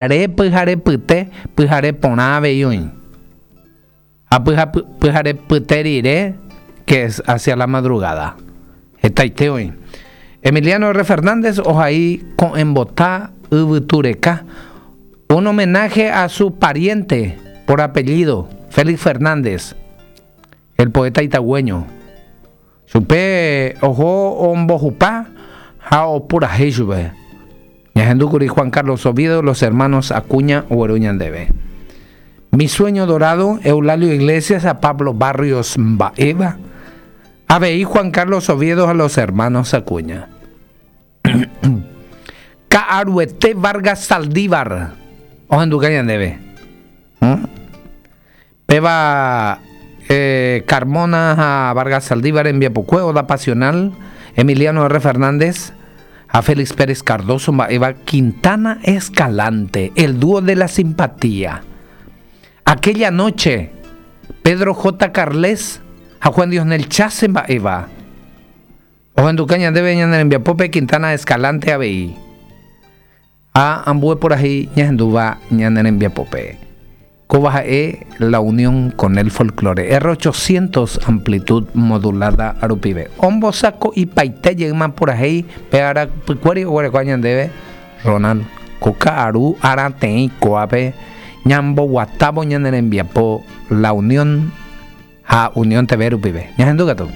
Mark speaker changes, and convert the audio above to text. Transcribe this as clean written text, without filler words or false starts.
Speaker 1: Pyhare, pyhare pyte, pyhare porã avei oĩ. Ha pyhare pyte rire, que es hacia la madrugada. Hetaite oĩ. Emiliano R. Fernández ohai ko'ẽmbota yvytu reka, un homenaje a su pariente por apellido, Félix Fernández, el poeta itagũeño. Chupe oho ombohupa ha opurahéi chupe. Ñahendúkuri Juan Carlos Oviedo, Los Hermanos Acuña ogueru ñandéve. Mi sueño dorado, Eulalio Iglesias ha Pablo Barrios mba'éva. Avei Juan Carlos Oviedo ha Los Hermanos Acuña. Ka'aruete Vargas Saldívar ohenduka ñandéve. Péva Carmona ha Vargas Saldívar rembiapokue Oda Pasional, Emiliano R. Fernández ha Félix Pérez Cardozo mba'éva Quintana Escalante, el dúo de la simpatía. Aquella noche, Pedro J. Carles ha Juan Diosnel Chase mba'éva. Ohenduka ñandéve ñane rembiapópe Quintana Escalante avei. Ha ambue purahéi ñahendúva ñane rembiapópe. Kóva ha'e la unión con el folklore. R 800 amplitud modulada rupive. Ombosako'ipaite jeýma purahéi pe ára pykuéri oguerekóva ñandéve Ronald. Ko ka'aru arateĩ kóvape ñamboguatávo ñane rembiapo La Unión ha Unión TV rupive. Ñahendu katu.